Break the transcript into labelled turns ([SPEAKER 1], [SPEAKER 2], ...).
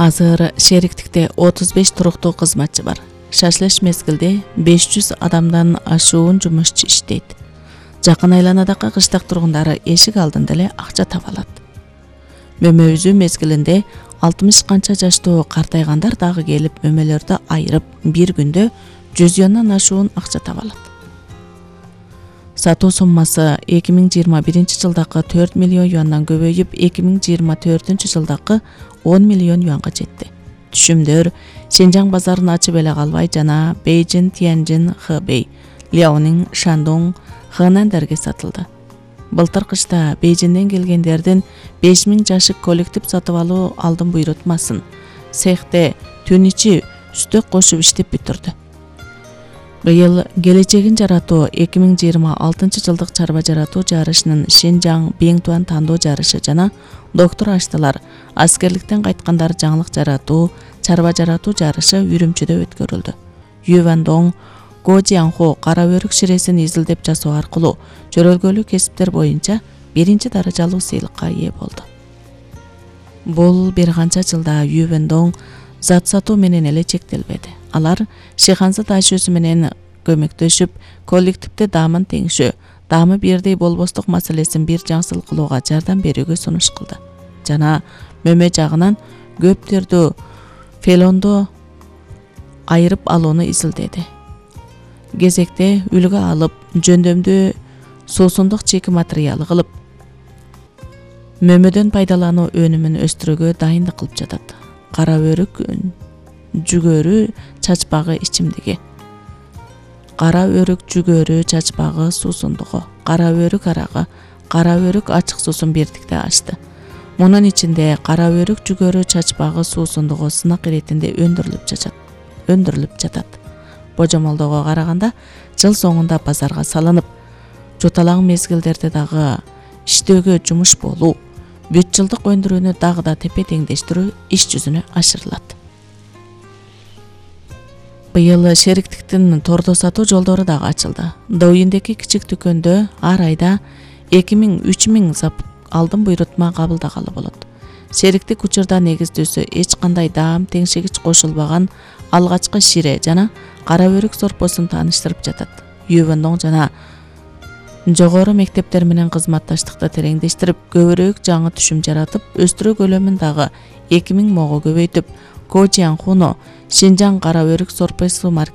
[SPEAKER 1] Азыр шериктикте 35 туруктуу кызматчы бар. Шашлыш мезгилде 500 адамдан ашуун жумушчу иштейт. Жакын айланадагы кыштак тургундары эшик алдында эле акча таба алат. Мөмө үзүү мезгилинде 60 канча жаштуу картайгандар дагы келип мөмөлөрдү айырып бир күндө 100 юандан ашуун акча таба алат. Сатуу суммасы 2021 жылдагы 4 миллион юандан көбөйүп 2024 жылдагы 10 миллион юанга жетти. Түшүмдөр Синжаң базарын ачып эле калбай жана Бейжин, Тяньжин, Хэбэй, Ляонин, Шандong, Хэнандарга сатылды. Былтыр кышта Бейжинден келгендердин 5000 жашык коллектив сатып алуу алдын буйрутмасын цехте түн ичи үстөк кошуп иштеп бүтүрдү. Быйыл келечегин жаратуу 2026 жылдык чарба жаратуу жарышынын Синжаң Биңтуан тандоо жарышы жана доктор аштылар аскерликтен кайткандар жаңылык жаратуу, чарба жаратуу жарышы Үрүмчүдө өткөрүлдү. Ювандong Гожианхо кара өрүк ширесин изилдеп жасоо аркылуу жөрөлгөлүү кесиптер боюнча биринчи даражалуу сыйлыкка ээ болду. Бул бир канча жылда Ювандong зат сатуу менен эле чектелбеди. Алар Шиханзы ташуусу менен көмөктөшүп, коллективде даамын теңшөө, даамы бирдей болбостук маселесин бир жаңсыл кылууга жардам берүүгө сунуш кылды. Жана мөмө жагынан көптөрдү фелондо айырып алууну изилдеди. Кезекте үлгү алып, жөндөмдүү суусундук чеки материалы кылып, мөмөдөн пайдалануу өнүмүн өстүрүүгө дайындык кылып жатат. Кара өрүк жүгөрү чачпагы ичимдиги. Кара өрүк жүгөрү чачпагы суусундугу, кара өрүк арагы, кара өрүк ачык суусун бирдикте ачты. Мунун ичинде кара өрүк жүгөрү чачпагы суусундугу сынак иретинде өндүрүлүп жатат. Божомолдоого караганда жыл соңунда базарга салынып, жуталаң мезгилдерде дагы иштөөгө жумуш болуу, бүт жылдык өндүрүүнү дагы да тепе теңдештирүү иш жүзүнө ашырылат. Быйыл шериктиктин тордо сатуу жолдору дагы ачылды. Доуиндеги кичик дүкөндө ар айда 2000-3000 зап алдын буйрутма кабылдагалы болот. Шериктик учурда негиздөөсү эч кандай даам теңшегич кошулбаган алгачкы шире жана кара өрүк сорпосун тааныштырып жатат. Ювандong жана жогору мектептер менен кызматташтыкты тереңдештирип, көбүрөөк жаңы түшүм жаратып, өстүрүү көлөмүн дагы 2000 мого көбөйтүп, Гожианхуну Синжаң кара өрүк сорпосу маркет